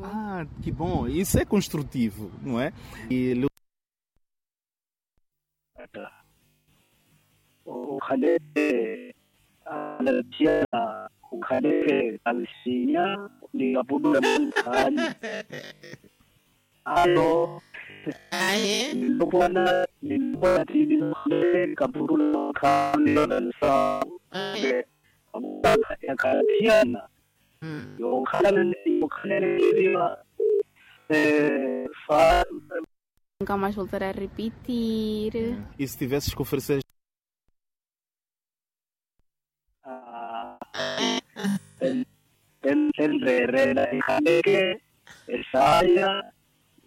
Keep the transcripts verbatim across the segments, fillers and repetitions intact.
Ah, que bom, isso é construtivo, não é? E okhaleke, okhaleke kalisinya, ni kaputula manthaani. Alo. Aye. Nilopwana nilopwana tiini, okhaleke kaputula manthaani. Aye. Yakhala thiyana. Yokhalana yokhalana. Fa. Nunca mais voltar a repetir. E se tivesses que oferecer. Enreerela ekhaleke esaya.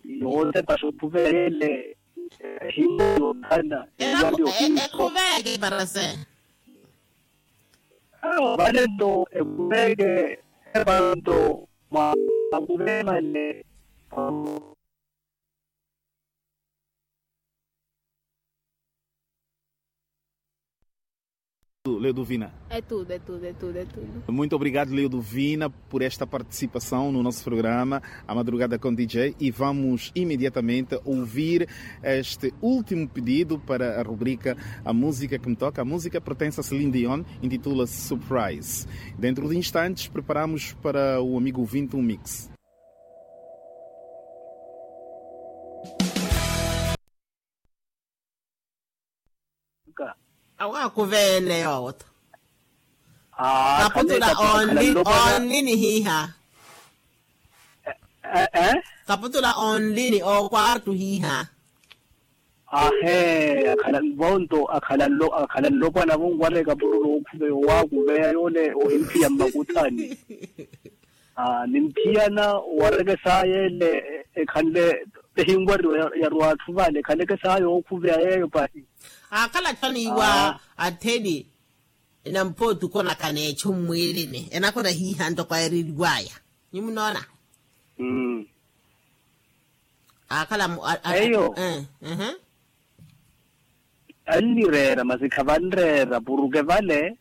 Yote pasopuveyele. Ehimba yothana. Ekhuveke parase. Vale nto ekhuveke. Evale nto mwa akuvevale. Leodovina. É tudo, é tudo, é tudo, é tudo. Muito obrigado, Leodovina, por esta participação no nosso programa A Madrugada com D J. E vamos imediatamente ouvir este último pedido para a rubrica A Música que Me Toca. A música pertence a Celine Dion, intitula-se Surprise. Dentro de instantes, preparamos para o amigo ouvinte um mix. Awo akuveene yoowo to. Kaputula onli onli ni hiiha. Kaputula onli ni okwartu hiiha. Ahe akhala nvonto akhala nlopwana vonwareka pururu okhuveya owakuveya yole ohimphiya mmakuthani. Nimphiyana owarekesaya ele ekhanle ehinwariwa yarwa atthu vale ekhanekesaya okhuveya yeyo pahi. Akhala tthaniwa attheni. Enampooti okonakana echu mmwiirini enakona hiiha ntoko aereriwaya. Nyumu noona. Akhala eyo. Annireera masi khavanreera puruke vale.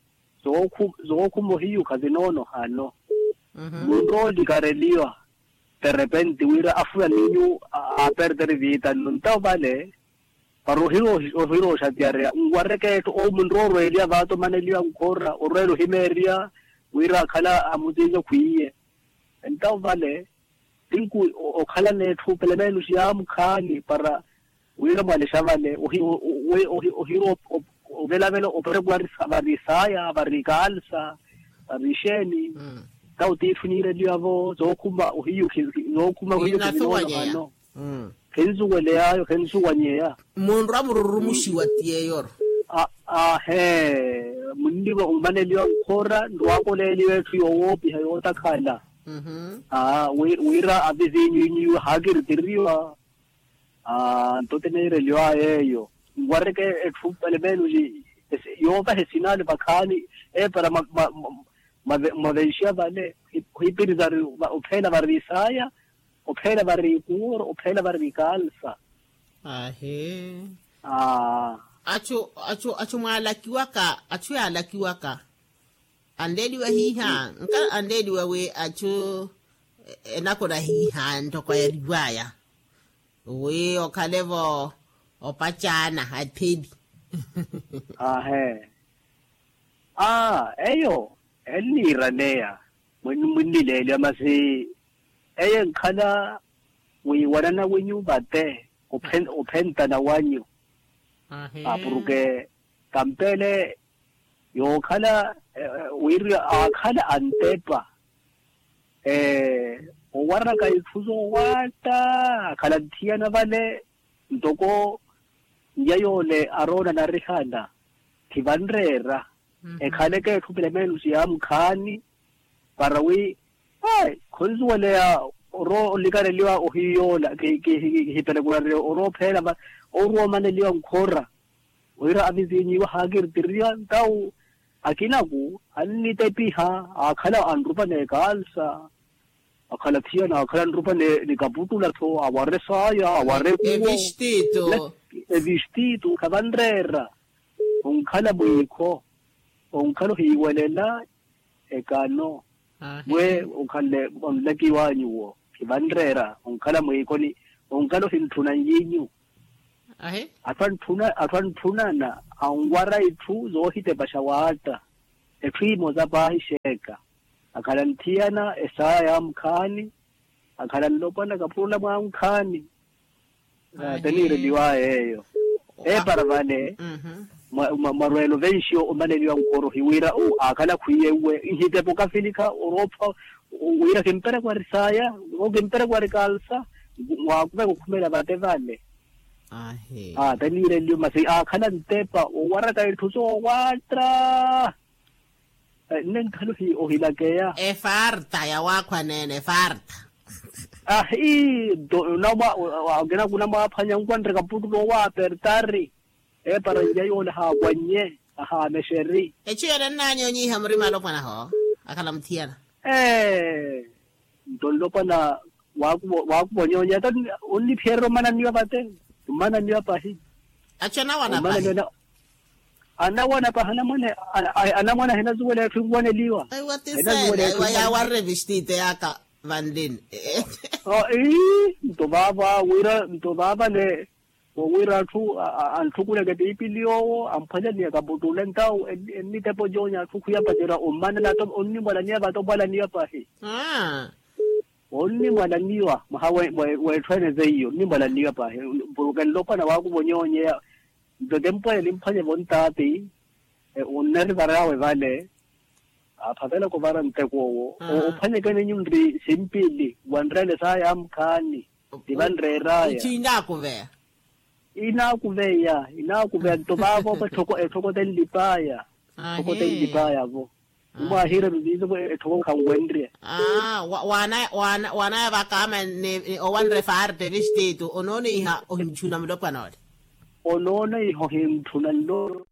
Zookhuma ohiyukha zinoonohano. Munroolikareliwa terepenti wira afuya ninyu aaperteri viitanno ntawo vale. Para ohirooxatiyarya nwareke etthu owo munroorweeliya vaata omaneliwa nkhora orweela ohimeeriya wira akhala amutinza okhwiiye. Entawo vale tinku okhalana etthu pelemeenusi yaamukhaani para wira mwalexa vale ohira ovelavela opere kuvarisaya vari kalsa vari xeeni. Entawo tiitthu niireliwa vo zookhuma ohiyukhi zookhuma ohiyukhi zinoonohano. Khensuweleyaayo khensuwanyeya. Munrwa mururumuxiwa ti yeeyoro. Ahe munniwa omaneliwa nkhora nrwakoleeliwa etthu yoowoopiha yootakhala. Wira avizinyu inyu haakiritiriwa. Nto tiniireliwaya eyo nwareke etthu pelemenuji yoovaha esinale vakhaani epara mwavenxiya vale. Ohipiriza ari opheela varisaya opheela varikuuro opheela varikalsa. Ahi. Achu achu achu mwaalakiwaka achu yaalakiwaka anleeliwa hiiha nka anleeliwa wi achu enakona hiiha ntoko yariwaya wi okhale-vo opacaana atheli. Ahe. Aa eyo enniiraneya munnileeliwa masi eyo enkhala wiiwanana wenyu vate ophentana wanyu. Apuruke kampele yookhala wira aakhala antepa owaraka itthu zoowaatta akhala nthiyana vale ntoko nnya yoole aroona narihana thivanreera ekhaleke etthu pilemeenusi yaamukhaani para wi khonsuweleya oroolikaneliwa ohiyoola kihipelekunarye oroopheela va oruwa omaneliwa nkhora wira avizinyiwa haakiritiriwa ntawu akinaku annitepiha aakhala anrupa n'ekalsa akhala thiyana aakhala anrupa ni kaputula-tho aware saaya aware kuwo evistito khavanreera onkhala mwiikho onkhala ohiiwelela ekano Mwe onkhanle onlakiwanyu wo, khivanreera onkhala mwiikoni, onkhala ohintthuna nyiinyu. Atthu antthunana anwara itthu zoohitepaxa waatta. Etthu imosa paahi xeeka, akhala nthiyana esaaya ya mukhaani, akhala nlopwana kapurula mwa mukhaani. Teniireliwaya eyo. Epara vale, mwarweela ovenxiwa omaneliwa nkoro hiwira aakhala khwiye uwe nhitepo kafilikha oroopha, wira kimperekwari saya, kimperekwari kalsa, mwakuveka okhumela vate vale. Teniireliwa masi aakhala ntepa owaraka itthu soowatta. Nne nkhala ohilakeya efarta yawaakhwaneene efarta. Ahi, akina kunamwaaphwanya nkwanre kaputulo owaapertari. Epara nja yoola ahaawannye, ahaamexeri. Echu yale nnanyonyiha murima alopwanaho akhala muthiyana. Ee, nto nlopwana waakuvonyonyeya ta, onniphererya omananiwa vate, omananiwa pahi. Achu anawana pahi. Anawana pahi anamwane, anamwane ahinazuwela etthu enwaneliwa. Aiwa tisela aiwa yaawarre vistite yaka vanlini. Ii, nto vaava wira nto vaavale, wowira atthu anthukuleke tiipili yoowo amphwanyaniya kaputuule ntawu ennitepo joonya atthu khwiyapacerya ommanela onnimwalaniya vate omwalaniya pahi. Onnimwalaniwa mwaha, w'etthu ene zeiyo onnimwalaniwa pahi. Mpuruke nlopwana waakuvonyonyeya, nto kempwene nimphwanyevo ntaati. Onnerivaryawe vale, aaphavelaka ovara nteko owo. Ophwanyekene nyunri simpili wanreele saaya ya mukhaani. Tivanreeraya. Ichi inaakuveya. Inaakuveya inaakuveya nto vaavoovo etthoko etthoko tenlipaya. Etthoko tenlipaya-vo. Nimwaahiire viviizo vo etthoko khanwenrye. Aa waanaya vakaama owanre farte vistitu onooneiha ohintthuna mulopwana ole. Onooneiha ohintthuna nlo.